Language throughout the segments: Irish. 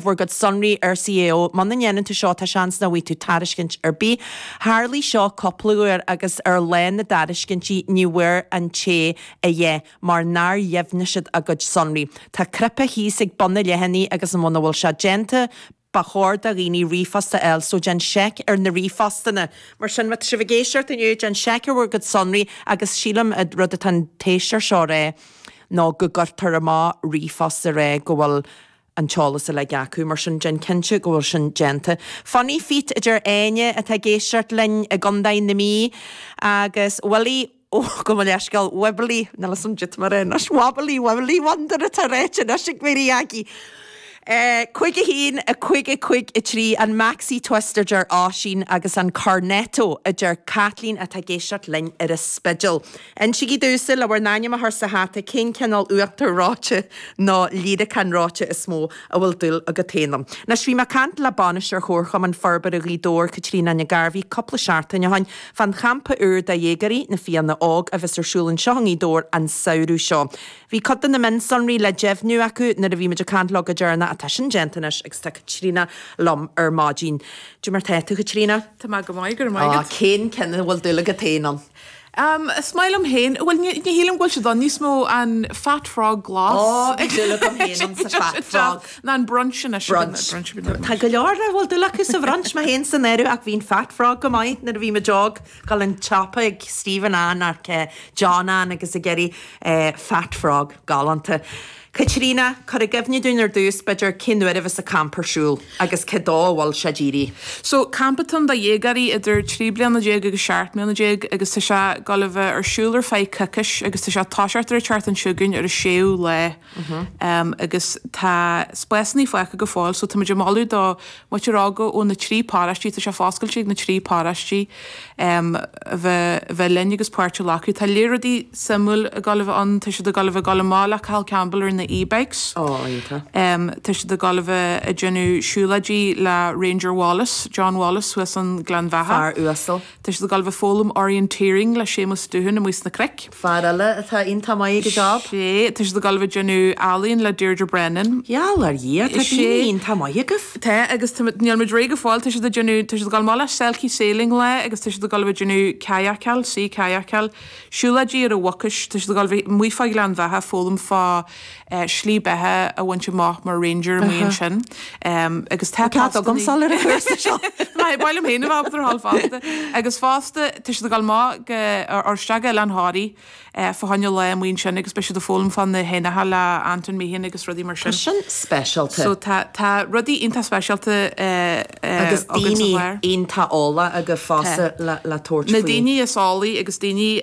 Bhur gcuid sonraí ar CAO. Muna ndéanann tú seo, tá seans nach bhfaighidh tú tairiscint ar bith. Tharlaigh seo cúpla uair agus ar lá na dtairiscintí ní bhfuair an té a dhath mar nár dheimhnigh siad a gcuid sonraí. Tá cnaipe thíos ag bun an leathanaigh agus muna bhfuil sé déanta, ba chóir do dhaoine ríomhphost a fháil so déan seic ar na ríomhphostanna. Mar sin, má tá sibh ag éisteacht inniu, déan seic ar bhur gcuid sonraí agus sílim an rud atá an t-éisteoir seo a rá ná go gcuirtear amach ríomhphost a rá go bhfuil an t-eolas uilig acu, mar sin déan cinnte go bhfuil sin déanta. Funny Feet a deir Áine atá ag éisteacht linn i gContae na Mí agus Willie, ó, gabh mo leithscéal, Wibbly, níl 'fhios a'm caidé tá mé a rá anois, Wobbly, Willie Wonder atá ráite anois ag Mary Aggie. 5 1, 5 5 3, an Maxi Twist a deir Oisín agus an Cornetto a deir Caitlín atá ag éisteacht linn ar an Spidéal. Insígí domhsa, le bhur n-ainm a chur sa hata, cén cineál uachtar reoite nó líreacán reoite is mó a bhfuil dúil agat féin ann. Anois, bhí mé ag caint le Bainisteoir Chomharchumann Forbartha Ghaoth Dobhair, Caitríona Nic Gairbhí, cúpla seachtain ó shin, fán champa úr do dhéagóirí, Na Fianna Óg, a bheas ar siúl anseo i nGaoth Dobhair an samhradh seo. Bhí cuid de na mionsonraí le deimhniú acu nuair a bhí muid ag caint leo go deireanach ach tá sin déanta anois agus tá Caitríona liom ar maidin. Cad é mar tá tú, Chaitríona? Tá mé go maith, go raibh maith agat. Cén ceann a bhfuil dúil agat féin ann? Is maith liom féin, bhuel ní shílim go bhfuil siad ann níos mó, an Fat Frog glas. Ó, bhí dúil agam féin ann sa Fat Frog. Ná an brunch anois. Brunch. Tá go leor a bhfuil dúil acu sa bhrunch, mé féin san áireamh, ach bhí an Fat Frog go maith nuair a bhí muid óg, dul an tsiopa ag Stephen Ann ach John Ann agus ag iarraidh Fat Frog, galánta. Caitríona, cuir i gcuimhne dúinn ar dtús, b'fhéidir, cén uair a bheas an campa ar siúl agus cé dó a bhfuil sé dírithe? So, campa atá ann do dhéagóirí idir 13 bliana agus 17 mbliana agus tá sé ag dul a bheith ar siúl ar feadh coicís agus tá sé ag toiseacht ar an tseachtain seo chugainn ar an séú lá. Agus tá spásanna fágtha go fóill so tá muid ag moladh do mhuintir óga ó na trí paróistí, tá sé foscailte ag na trí paróistí, a bheith a bheith linn agus páirt a ghlacadh. Tá lear rudaí suimiúil ag dul a bheith ann, tá siad ag dul a bheith ag dul amach le Cathal Campbell ar na e-bikes. Ó, iontach. Tá siad ag dul a bheith ag déanamh siúlóidí le Ranger Wallace, John Wallace thuas an Gleann Bheatha. Fear uasal. Tá siad ag dul a bheith ag foghlaim orienteering le Séamus Doohan amuigh sna cnoic. Fear eile atá iontach maith ag a job. Sé, tá siad ag dul a bheith ag déanamh ealaíon le Deirdre Brennan. Gheall ar Dhia, tá daoine iontach maith agaibh. Tá, agus tá, níl muid réidh go fóill, tá siad ag déanamh, tá siad ag dul amach le Selkie Sailing lá agus tá siad ag dul a bheith ag déanamh kayakáil, sea kayakáil, siúlóidí ar an Mhucais, tá siad ag dul a bheith amuigh fá Ghleann Bheatha ag foghlaim fá slí beatha a bhaint amach mar ranger amuigh ansin. Agus tá Tá cead agamsa dul ar an chúrsa seo. Ba mhaith liom féin a bheith ábalta a dhul fosta. Agus fosta tá siad ag dul amach go ar isteach go Oileán Thoraí fá choinne lá amuigh ansin agus beidh siad ag foghlaim fá na héanacha le Anton Meehan agus rudaí mar sin. Tá sin speisialta. So tá tá rudaí iontach speisialta Agus againn sa daoine chlár. iontach eolach agaibh fosta le le tabhairt Na faoi. daoine is eolaí agus daoine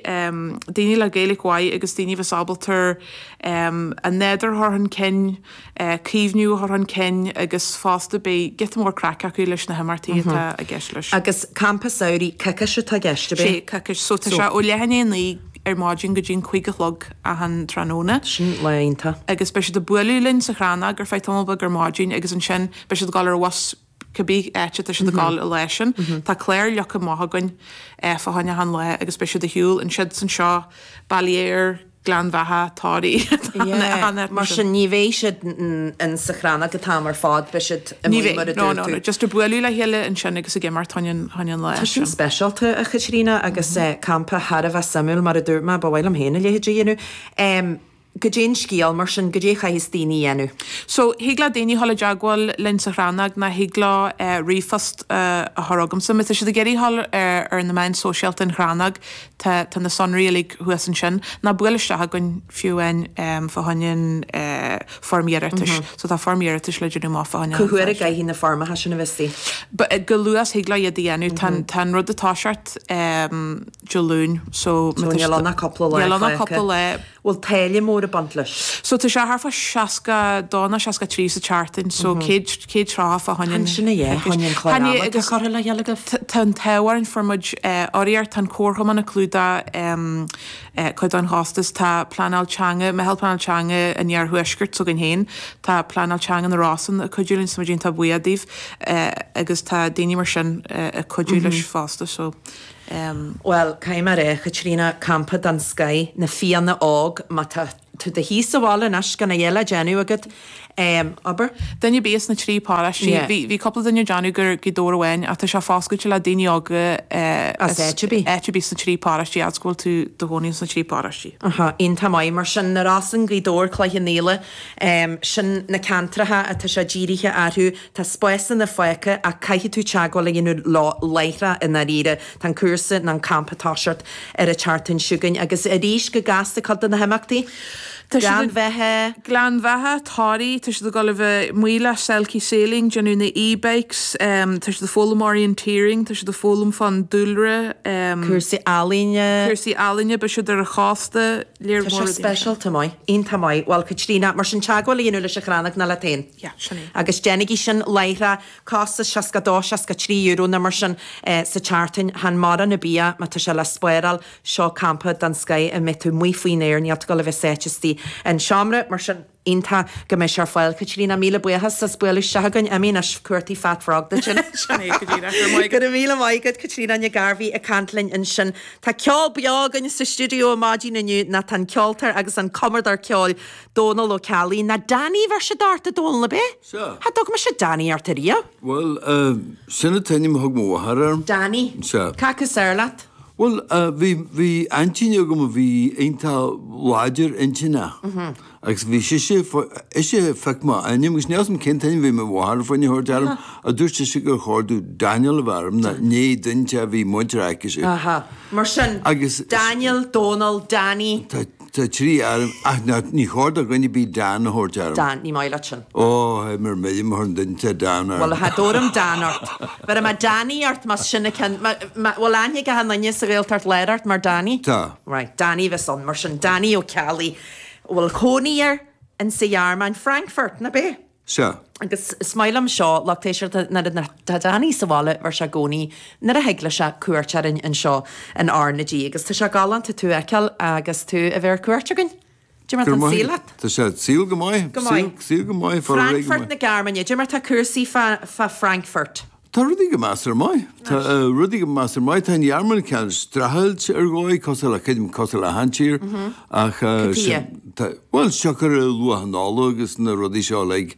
daoine le Gaeilge mhaith agus daoine a bheas ábalta an nádúr a chur chun cinn, caomhnú a chur chun cinn agus fosta beidh giota mór craic acu leis na himeachtaí atá i gceist leis. Agus campa samhraidh coicís atá i gceist, ab é? Sé, coicís. So tá sé ó leath i ndiaidh a 9 ar maidin go dtí an 5 a chlog achan tráthnóna. Sin lá iontach. Agus beidh siad ag bualadh linn sa Chrannóg ar feadh tamall beag ar maidin agus ansin beidh siad ag dul ar bhus cibé áit atá siad ag dul an lá sin. Tá clár leagtha amach againn fá choinne achan lá agus beidh siad ag shiúl ansiúd is anseo, Baile Héir, Gleann Bheatha, Toraigh, Yeah, mar sin ní bheidh siad in sa Chrannóg an t-am ar fad, beidh siad amuigh mar a dúirt tú. No, no, just ag bualadh le chéile ansin agus ag imeacht fá choinne an lá Tá sin sin. speisialta, a Chaitríona, agus campa thar a bheith suimiúil, mar a dúirt mé, ba mhaith liom féin a leithéid a dhéanamh. Goidé an scéal, mar sin, goidé a chaithfeas daoine a dhéanamh? So, thig le daoine dhul i dteagmháil linn sa Chrannóg ná thig leo ríomhphost a chur chugamsa. Má tá siad ag iarraidh dhul ar na meáin sóisialta an Chrannóg, tá tá na sonraí uilig thuas ansin. Ná buail isteach chugainn fiú amháin fá choinne an foirm iarratais. So tá foirm iarratais le déanamh amach fá choinne Cá huair a gcaithfidh na foirmeacha sin a bheith istigh? Go luath is thig leo iad a dhéanamh. Tá tá an rud ag toiseacht Dé Luain so So níl ann ach cúpla lá Níl ann ach fágtha. cúpla lá. Bhfuil táille mór ag baint leis? So tá sé thart fá 62 nó 63 sa tseachtain so 130 fá choinne an Sin a dhé, choinne an clár Tá ama atá curtha le chéile agaibh. Tá an t-ádh orainn fuair muid urraíocht, tá an Comharchumann ag clúdach cuid den chostas, tá pleanáil teanga, Meitheal Pleanáil Teanga an Iarthuaiscirt s'againn féin, tá Pleanáil Teanga na Rosann ag cuidiú linn so muid iontach buíoch díobh agus tá daoine mar sin ag cuidiú leis fosta so. Bhuel, caithfidh mé a rá, a Chaitríona, campa den scoith, na Fianna Óg, má tá tú i do shuí sa bhaile anois gan a dhath le déanamh agat. Abair. Duine ar bith as na trí paróistí. Bhí bhí cúpla duine ag déanamh gur Gaoth Dobhair amháin ach tá sé foscailte le daoine óga As áit ar bith. áit ar bith sna trí paróistí fhad is go bhfuil tú do chónaí sna trí paróistí. Aha, iontach maith. Mar sin, Na Rosann, Gaoth Dobhair, Cloich Cheann Fhaola, sin na ceantracha atá sé dírithe orthu. Tá spásanna fágtha ach caithfidh tú teagmháil a dhéanamh leo láithreach i ndáiríre. Tá an cúrsa nó an campa ag toiseacht ar an tseachtain seo chugainn agus arís go gasta cuid de na himeachtaí. Tá siad Gleann Bheatha. Gleann Bheatha, Toraigh, tá siad ag dul a bheith amuigh le Selkie Sailing, déanamh na e-bikes, tá siad ag foghlaim orienteering, tá siad ag foghlaim fán dúlra. Cúrsaí ealaíne. Cúrsaí ealaíne, beidh siad ar an chósta, léir Tá sé speisialta maith, iontach maith. Bhuel, Caitríona, mar sin teagmháil a dhéanamh leis an Chrannóg nó leat féin. Yeah, sin é. Agus déanaigí sin láithreach, costas 62, 63 euro nó mar sin sa tseachtain, chan mórán ar bith é má tá sé le spáráil. Seo campa den scoith a mbeidh tú amuigh faoin aer, níl tú ag dul a bheith sáite istigh in seomra, mar sin iontach go mbeidh sé ar fáil. Caitríona, míle buíochas as bualadh isteach againn. Imigh anois, cuartaigh Fat Frog duit sin. Sin é go díreach. Go raibh maith agat. Go raibh míle maith agat, Caitríona Nic Gairbhí ag caint linn ansin. Tá ceol beo againn sa stiúideo ar maidin inniu, nó tá an ceoltóir agus an cumadóir ceoil Dónal Ó Ceallaigh, nó Danny a bheir siad ort, a Dónal, ab é? Sea. Cha dtug mise Danny ort ariamh. Bhuel, sin an t-ainm a thug mo mháthair orm. Danny. Sea. Cad is fearr leat? Bhuel, bhí, bhí aintín agam a bhí iontach láidir intinneach agus bhí sise, ise a phioc m'ainm agus níl 'fhios a'm cén t-ainm a bhí mo mháthair fá choinne a thabhairt orm ach dúirt sise gur chóir domh Daniel a bheith orm nó ní duine a bhí muintir aicise. Aha. Mar sin, Agus. Daniel, Dónal, Danny. Tá. Tá trí ainm, ach ná, ní chóir do dhuine ar bith Dan a thabhairt orm. Dan, ní maith leat sin. Ó, théim ar mire má thugann duine Dan orm. Bhuel, cha dtabharfam Dan ort. Bhéarfaidh mé Danny ort más sin an ceann, má, má, bhfuil aithne ag achan duine sa Ghaeltacht Láir ort mar Danny? Tá. Right, Danny a bheas ann, mar sin, Danny Ó Ceallaigh, a bhfuil cónaí air in sa Ghearmáin, Frankfurt, nach b'é? Sea. Agus is maith liom seo, lucht éisteachta, nuair atá Danny sa bhaile, bheir sé i gcónaí, nuair a thig leis sé, cuairt orainn anseo in R na G. Agus tá sé galánta tú a fheiceáil agus tú a bheith ar cuairt againn. Cad é mar Go tá an maith. saol leat? Tá sé saol go maith. Go maith. Saol go maith, fara réidh go Frankfurt maith. na Gearmáine, cad é mar tá cúrsaí fá, fá Frankfurt. Tá rudaí go measartha maith. Tá rudaí go measartha maith. Tá an Ghearmáin cineál streachailt ar dhóigh, cosúil le, creidim, cosúil le achan tír. Ach tá, bhuel, siocair luach an ola agus na rudaí seo uilig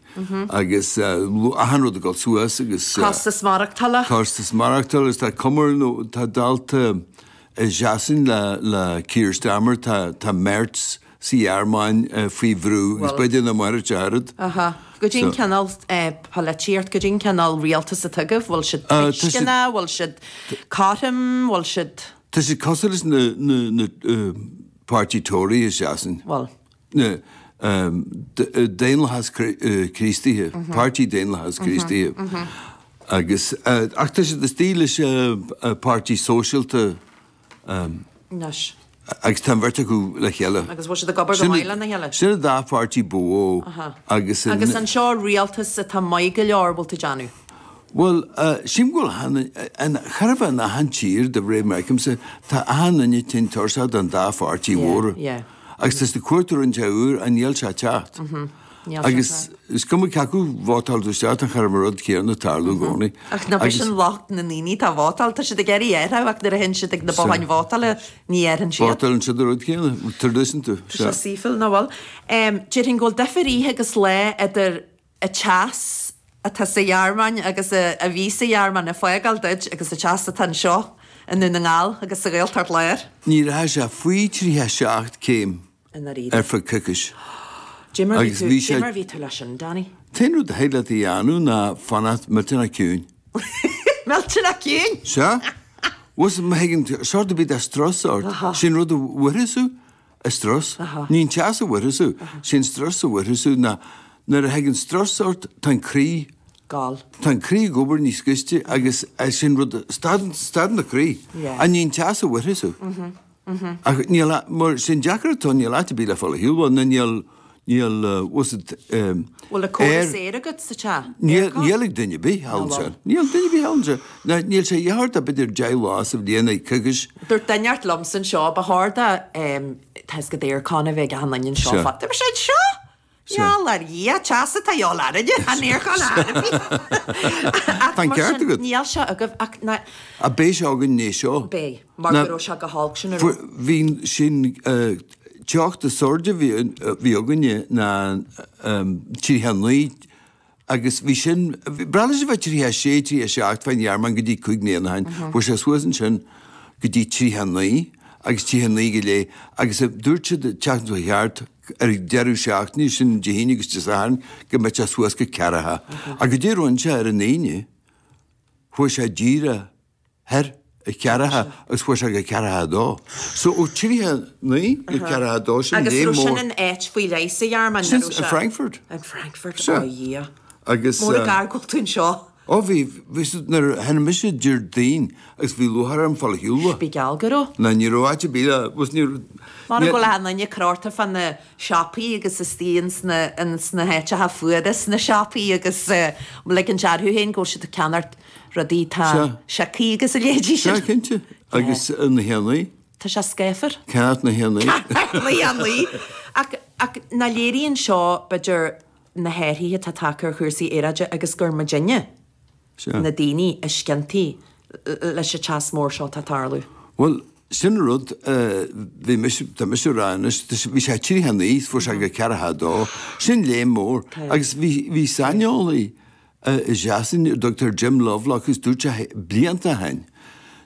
agus achan rud ag dul suas agus. Costas maireachtála. Costas maireachtála agus tá cuma nó tá dálta i Sasain le le Keir Starmer, tá tá Merz sa Ghearmáin faoi bhrú agus b'fhéidir nach mairfidh sé oiread. Aha. Goidé an cineál polaitíocht, goidé an cineál rialtas atá agaibh, bhfuil siad tuisceanach, bhfuil siad cothrom, bhfuil siad. Tá siad cosúil leis na na na páirtí Tory i Sasain. Bhfuil. Na Daonlathas Críostaithe, Páirtí Daonlathas Críostaithe. Agus ach tá siad istigh leis Páirtí Sóisialta Anois. Agus tá an bheirt acu le chéile. Agus bhfuil siad ag obair go maith lena chéile? Sin an dá pháirtí ba mhó agus. Agus anseo rialtas atá maith go leor, bhfuil tú ag déanamh? Bhuel, sílim go bhfuil achan, chóir a bheith in achan tír de réir mar a fheicimse, tá achan duine tinn tuirseach den dá pháirtí mhóra. Agus tá siad ag cuartú rud inteacht úr ach níl sé ag teacht. Agus is cuma cé acu vótáil tú isteach, tá chóir a bheith an rud céanna ag tarlú i gcónaí. Ach nach é sin locht na ndaoine atá ag vótáil, tá siad ag iarraidh athrú ach nuair a théann siad ag na botháin vótála ní athraíonn siad. Vótálann siad an rud céanna, traidisiúnta. Tá sé saoithiúil, nach bhfuil? Déarfainn go bhfuil difear oíche agus lá idir an teas atá sa Ghearmáin agus a bhí sa Ghearmáin ag fágáil duit agus an teas atá anseo i nDún na nGall agus sa Ghaeltacht Láir. Ní rachaidh sé faoi 37 céim. I ndáiríre. ar feadh coicís. Cad é mar bhí tú, cad é mar bhí tú leis sin, Danny? T-aon rud a thig leat a dhéanamh ná fanacht millteanach ciúin. Millteanach ciúin? Sea. Bhuel, má thagann sórt ar bith de strus ort, sé'n rud a bhuailfeas thú, an strus. Ní an teas a bhuailfeas thú, sé'n strus a bhuailfeas thú ná nuair a thagann strus ort, tá an croí, Gall. tá an croí ag obair níos gaiste agus sé'n rud, stadann, stadann an croí. Yeah. Ach ní an teas a bhuailfeas thú. Ach níl, mar sé'n deacracht atá, níl áit ar bith le fáil ar shiúl, bhuel, nó níl, níl, what's it, ehm, Bhfuil an córas aeir agat sa teach? Níl, níl ag duine ar bith thall ansin. Níl duine ar bith thall ansin. Ná, níl sé a dhath ort ach b'fhéidir 10 lá sa bhliain ag coicís. Dúirt duine inteacht liomsa anseo, ba chóir do, ehm, tá 'fhios agat aircon a bheith ag achan duine anseo. Sea. Dúirt mise, anseo? Gheall ar Dhia, teas atá de dhíobháil orainne, an aircon ar bith. Ach Tá an mar ceart sin, agat. níl sé agaibh ach ná. Ach beidh sé againn é seo. Beidh, mar go raibh sé go holc sin a raibh. Bhí sin. teocht is airde a bhí againne ná 39 agus bhí sin, breá leis a bheith 36, 37 fán Ghearmáin go dtí 5 mbliana ó shin. Fuair sé suas ansin go dtí 39 agus 39 go leith agus dúirt siad an tseachtain seo thart ar an deireadh seachtaine, sin Dé hAoine agus Dé Sathairn, go mbeadh sé suas go ceathracha. Ach goidé a rinne sé ar an Aoine, chuaigh sé díreach thar a cheathracha agus chuaigh sé go ceathracha a dó. So ó 39 go ceathracha a dó sin Agus raibh sin in áit faoi leith sa Ghearmáin? Sin in Frankfurt. In Frankfurt, ó Dhia. Agus. Mór an gar go bhfuil tú anseo. Ó bhí, bhí siad, nuair a tháinig mise Déardaoin agus bhí lúcháir orm fáil ar shiúl. Bí geall go raibh. Ná ní raibh áit ar bith le, bhus ní raibh. Mar go bhfuil achan duine crochta fá na siopaí agus istigh ins na, ins na háiteacha fuara sna siopaí agus ligint orthu féin go bhfuil siad ag ceannacht rudaí atá siocthaí agus a leithéidí sin. Sea, cinnte. Agus na héanaí. Tá sé scáfar. Ceannacht na héanaí. Ceannacht na héanaí. Ach, ach nach léiríonn seo, b'fhéidir, na hathruithe atá tagtha ar chúrsaí aeráide agus gur muidinne, na daoine, is ciontaí leis an teas mór seo atá ag tarlú? Bhuel, sin an rud, bhí mise, tá mise ag rá anois, bhí sé 39, fuair sé go ceathracha a dó, sin léim mór. Agus bhí, bhí saineolaí, i Sasain ar a dtugtar Jim Lovelock agus dúirt sé blianta ó shin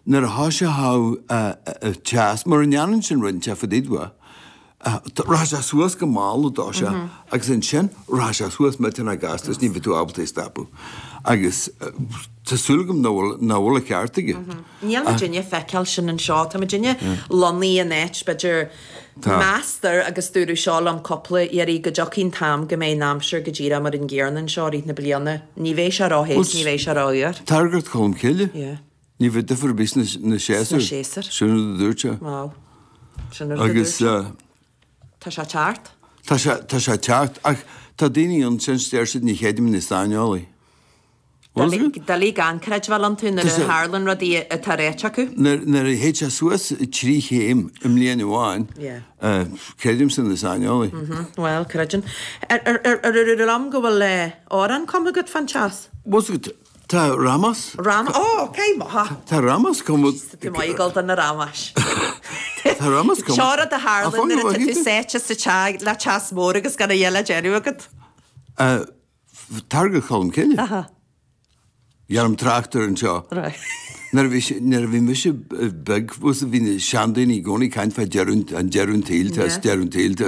nuair a thoiseochadh an teas, mura ndéanann sin rud inteacht fá dtaobh de, rachaidh sé suas go mall i dtosach agus ansin rachaidh sé suas millteanach gasta agus ní bheidh tú ábalta é a stopadh. Agus tá súil agam nach bhfuil, nach bhfuil an ceart aige. Níl muidinne ag feiceáil sin anseo. Tá muidinne lonnaithe in áit, b'fhéidir, Meastar, agus dúradh seo liom cúpla iarraidh, go dtiocfaidh an t-am go mbeidh an aimsir go díreach mar an gcéanna anseo i rith na bliana. Ní bheidh sé ró-the is ní bheidh sé ró-fhuar. Targairt Cholm Cille. Yeah. Ní bheidh difear ar bith sna séasúir. Sna séasúir. Sin rud a dúirt sé. Wow. Sin rud a dúirt sé. Tá sé teacht. Tá sé, tá sé teacht ach tá daoine ann sin deir siad ní chreidim na saineolaí. Doiligh gan creidbheáil iontu nuair a tharlann rudaí atá ráite acu. Nuair a théid sé suas 3 chéim i mbliain amháin, creidimse na saineolaí. Bhuel, creideann. Ar dúradh liom go bhfuil amhrán cumtha agat fán teas? Bhfuil agat, tá Ramos. Ramos, ó, ok, maith. Tá Ramos cumtha. Tá tú maith ag dul do na Ramais. Tá Ramos cumtha. Seo rud a tharlann nuair atá tú sáite sa teach le teas mór agus gan a dhath le déanamh agat. Targair Cholm Cille. Aha. Dhéanaim trácht air anseo. Right. Nuair a bhí sé, nuair a bhí mise beag, bhfuil bhí na seandaoine i gcónaí ag caint fá deireadh, an deireadh an tsaoil, tá deireadh an tsaoil, tá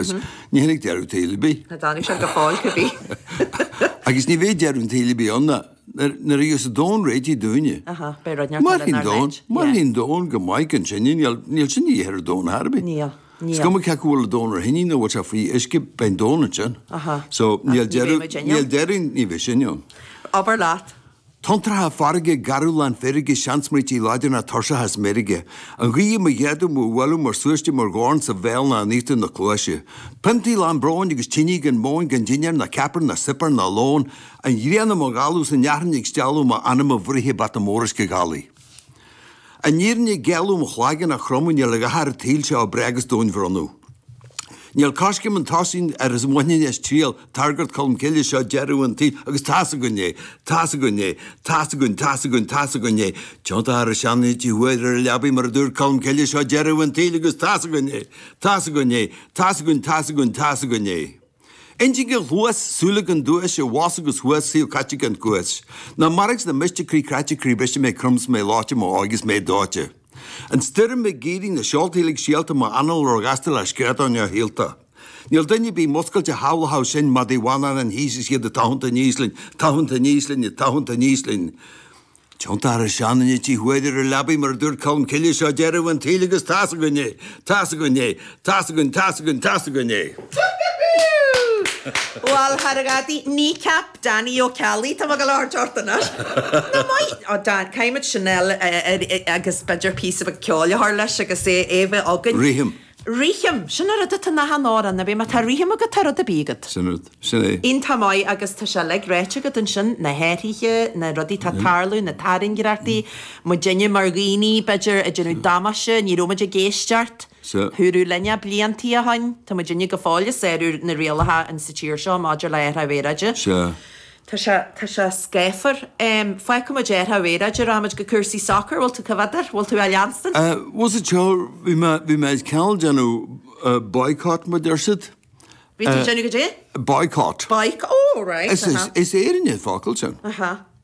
ní tháinig deireadh an tsaoil ar bith. Ní tháinig sé go fóill cibé. Agus ní bheidh deireadh an tsaoil ar bith ann ná nuair, nuair a gheobhas an domhan réitithe dúinne. Aha, beidh rud neart eile inár n-áit. Mairfidh an domhan go maith gan sinne, níl, níl sin de dhíth ar an domhan ar bith. Níl. Is cuma cé acu bhfuil an domhan ar thine nó bhfuil sé faoi uisce, beidh an domhan ansin. So níl deireadh, níl deireadh, ní bheidh sin ann. Abair leat. Tonntracha farraige, garbh lán feirge, seansmaointí láidir ná tuirseach as meirge. An ghaoth i mo ghéada, mo bhualadh mar súiste, mar dhorn sa bhéal ná in íochtar na cluaise. Piontaí lán bróin agus tine gan móin gan dinnéar ná ceapaire ná suipéar ná lón. An ghrian i mo dhalladh 's an fhearthainn ag stealladh m'anam á bhfraochadh bata mór uisce gálaí. An fhírinne ag géilleadh mo chlaigeann á chromadh níl a dhath ar an tsaol seo ab bréag is domhain bhronnadh. Níl coiscéim an tosaigh ar is bhainfinn as triail Targairt Cholm Cille seo deireadh an tsaoil agus tá's againn é, tá's againn é, tá's againn, tá's againn, tá's againn é. Tiontaithe ar a seanfhití thuaidh ar a leabaidh mar a dúirt Colm Cille seo deireadh an tsaoil agus tá's againn é, tá's againn é, tá's againn, tá's againn, tá's againn é. Intinn gan chluas, súile gan duais, i bhfos agus thuas, saol caite gan cuas. Ná mairg 's ná miste, croí cráite, croí briste, mé crom 's mé leoite, mo óige 's mé dóite. An stoirm ag éirí, na seolta uilig síolta, m'anáil róghasta le screadán ar shíolta. Níl duine ar bith muscailte a shamhlódh sinn, madaí Mhanann thíos is iad ag tathant aníos linn, tathant aníos linn, ag tathant aníos linn. Tiontaithe ar a seanfhine tí thuaidh ar a leabaidh mar a dúirt Colm Cille seo deireadh an tsaoil agus tá's againn é! Tá's againn é! Tá's againn, tá's againn, tá's againn é! Bhuel, thar a ghadaí, kneecap Danny Ó Ceallaigh, tá mé ag dul a thabhairt ort anois. Ná maith! Ó Dan, caithfimid sin a fháil agus b'fhéidir píosa beag ceoil a chur leis agus é a bheith againn. Rithim. Rithim! Sin an rud atá in achan amhrán, ab é? Má tá rithim agat, tá rud ar bith agat. Sin rud. Sin é. Iontach maith agus tá sé uilig ráite agat ansin, na hathruithe, na rudaí atá ag tarlú, na tairngreachtaí, muidinne mar dhaoine, b'fhéidir, ag déanamh damáiste, ní raibh muid ag éisteacht. Sea. Dúradh linn é bliantaí ó shoin, tá muidinne go fóill ag sárú na rialacha in sa tír seo maidir le athrú aeráide. Sea. Tá sé, tá sé scáfar. Fágfaidh muid athrú aeráide, rachaimid go cúrsaí sacair, bhfuil tú coimhéadar? Bhfuil tú á leanstan? Bhuel sa tseó, bhí mé, bhí mé ag cineál déanamh. Boycott mar deir siad. Bhí tú ag déanamh goidé? Boycott. Boycott, oh right. Is Éireannach an focal sin. Aha.